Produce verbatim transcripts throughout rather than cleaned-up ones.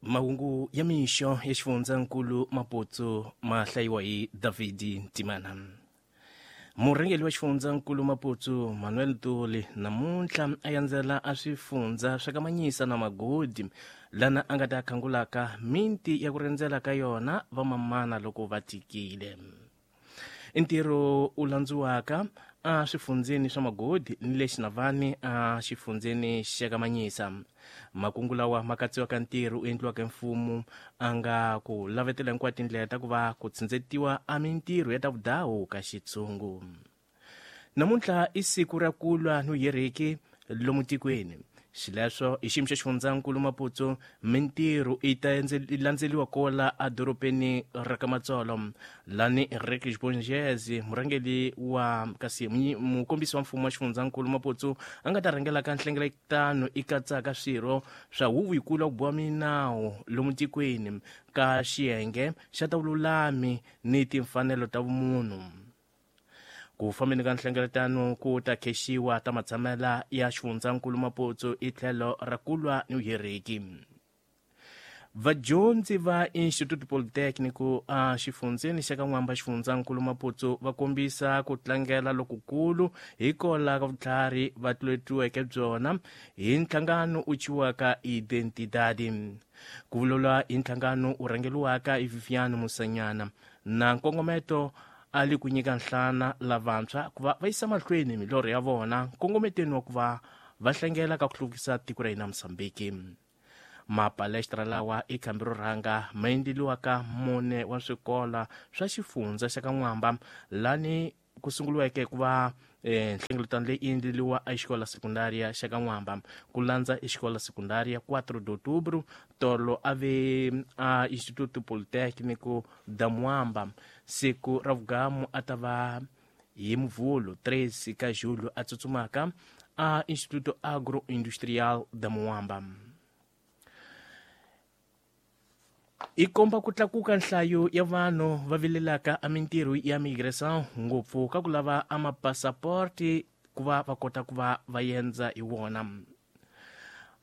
Mahungu ya mixo ya xifundzankulu Maputo ma hlayiwa hi David Ntimana. Murhangeri wa xifundzankulu Maputo Manuel Tuli namuntlha a yandzela a swifundza swa Kamanyisa na Magodi lana a nga ta khangulaka minti ya ku rendzela ka yona vamamana loko va tikile. Ntirho u landziwaka a swifundzeni swa Magodi ni le Xinavani a xifundzeni xa Kamanyisa. Makungu lawa ma katsiwaka ntirho u endliwaka mfumo a nga ku lavetela hinkwato tindlela ta ku va ku tsindzetiwa a mintirho ya ta vudawu ka xitshungu. Namuntlha i siku ra ku lwa no heriki lomu tikweni. Xileswo i xiyimo xa xifundzankulu Maputo mintirho i ta landzeliwa kola edorobeni ra ka Matsolo lani Enrique Bongezi murhangeri wa kasi mukombisi wa mfumo wa xifundzankulu Maputo a nga ta rhangela ka nhlengeletano i katsaka swirho swa huvo yikulu ya ku boha minawu lomu tikweni ka xiyenge xa ta vululami ni timfanelo ta vumunhu. Ku fambeni ka nhlengeletano ku ta khexiwa ta matshamela ya xifundzankulu Maputo i tlhelo ra ku lwa ni vuheriki. Vadyondzi va Instituto Politecnico a xifundzeni xa ka N'wamba xifundzankulu Maputo va kombisa ku tlangela lokukulu hikola ka vutlhari va tluletiweke byona hi nhlangano u ciwaka Identidade. Ku vulavula hi nhlangano u rhangeriwaka hi Vivian Musanyana na nkongometo a li ku nyika nhlana lavantshwa ku va va yisa mahlweni milorho ya vona nkongometweni wa ku va va hlangela ka ku hluvukisa tiko ra hina Mozambique. Mapalestra lawa i khambi ro rhanga ma endleliwaka mune wa swikola swa xifundza xa ka N'wamba lani ku sunguriweke ku va nhlengeletano leyi endleliwa exikola sekundaria xa ka N'wamba ku landza exikola sekundaria quatro de outubro tolo a ve a Instituto Politecnico da Mwamba. Siku ra vugamu a ta va hi Muvhulo treze ka julho a tsutsumaka a Instituto Agroindustrial da Mwamba. I komba ku tlakuka nhlayo ya vanhu va vilelaka a mintirho ya migração ngopfu ka ku lava a mapasaporti ku va va kota ku va va endza hi wona.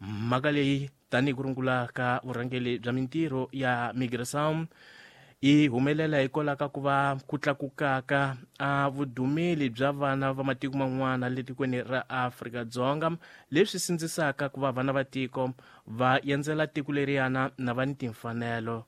Mhaka leyi tanihi ku rungula ka vurhangeri bya mintirho ya migração i humelela hikwalaho ka ku va ku tlakukaka a vudumeli bya vana va matiko man'wana le tikweni ra Afrika-Dzonga leswi sindzisaka ku va vana va tiko va endzela tiko leriyana na va ni timfanelo.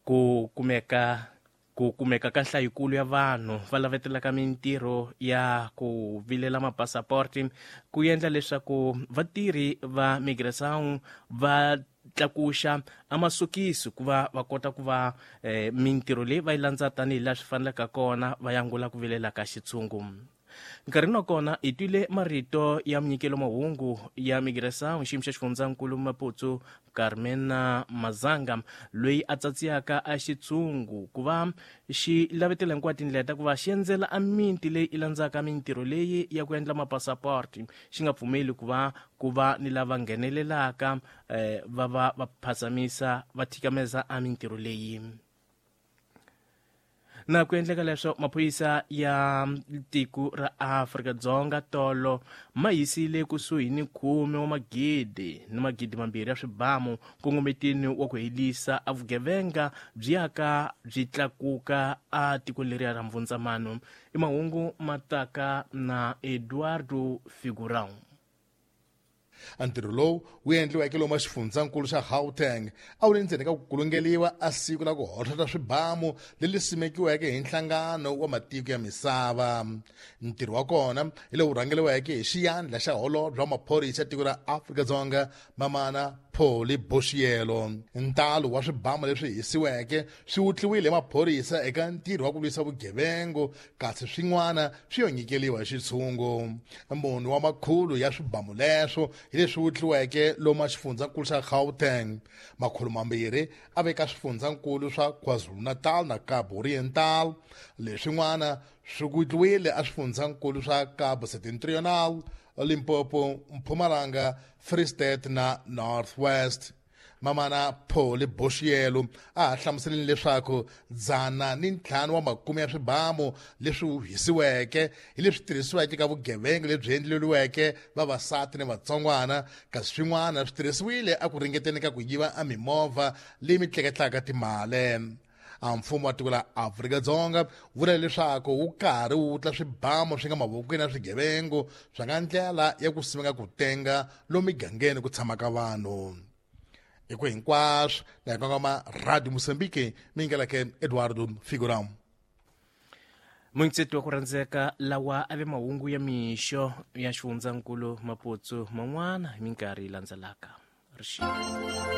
Ku kumeka ku kumeka ka nhlayikulu ya vanhu va lavetelaka mintirho ya ku vilela mapasaporti ku endla leswaku vatirhi va migração va tlakuxa a masokisi ku va va kota ku va eh, mintirho leyi va yi landza tanihi laha swi fanelaka kona va yangula ku vilela ka xitshungu. Nkarhini wa kona hi twile marito ya munyikelo mahungu ya migração xiyimo xa xifundzankulu Maputo Carmena Mazanga loyi a tsatsiyaka a xitshungu ku va xi lavetela hinkwato tindlela ta ku va xi endzela a miti leyi i landzaka mintirho leyi ya ku endla mapasaporti xi nga pfumeli ku va ku va ni lava nghenelelaka eh, va va va phazamisa va thikameza a mintirho leyi. Na ku endleka leswo maphorisa ya tiko ra Afrika-Dzonga tolo ma yisile kusuhi ni khume wa magidi ni magidi mambirhi ya swibamu nkongometini wa ku helisa a vugevenga byi yaka byi tlakuka a tiko leriya ra Mvundzamano. I mahungu ma taka na Eduardo Figurão. Ntirho lowu wu endliweke lomu xifundzankulu xa Gauteng a wu le ndzeni ka ku kulungeliwa a siku la ku hohlota swibamu leri simekiweke hi nhlangano wa matiko ya misava. Ntirho wa kona hi lowu rhangeriweke hi xiyandla xa holobye wa maphorisa ya tiko ra Afrika-Dzonga Mamana Polly Boshielo. Ntalo wa swibamu leswi hisiweke swi wutliwile hi maphorisa eka ntirho wa ku lwisa vugevengo kasi swin'wana swi yo nyikeliwa hi xitshungu. Munhu wa makhulu ya swibamu leswo hi leswi wutliweke lomu xifundzankulu xa Gauteng. Makhulu mambirhi a veka swifundzankulu swa KwaZulu-Natal na Cabo Oriental. Leswin'wana swi wutliwile a swifundzankulu swa Cabo Setentrional, Limpopo, Mpumalanga, Free State na North West. Mamana Polly Boshielo a ha hlamuseleni leswaku dzana ni ntlhanu wa makume ya swibamu leswi hisiweke hi leswi tirhisiweke ka vugevenga lebyi endleriweke vavasati ni vatsongwana, kasi swin'wana swi tirhisiwile a ku ringeteni ka ku yiva a mimovha leyi mi tleketlaka timali. A mfumo wa tiko la Afrika-Dzonga vula leswaku wu karhi wu wutla swibamu swi nga mavokweni ya swigevengu swa nga ndlela ya ku simeka ku tenga lomu migangeni ku tshamaka vanhu. Hi ku hinkwaswo na hi kongoma Radio Mozambique mi yingeleke Eduardo Figuram. Muntsetwa ku rhandzeka lawa a ve mahungu ya mixo ya xifundzankulu Maputo man'wana hi minkarhi yi landzelaka. Rixile.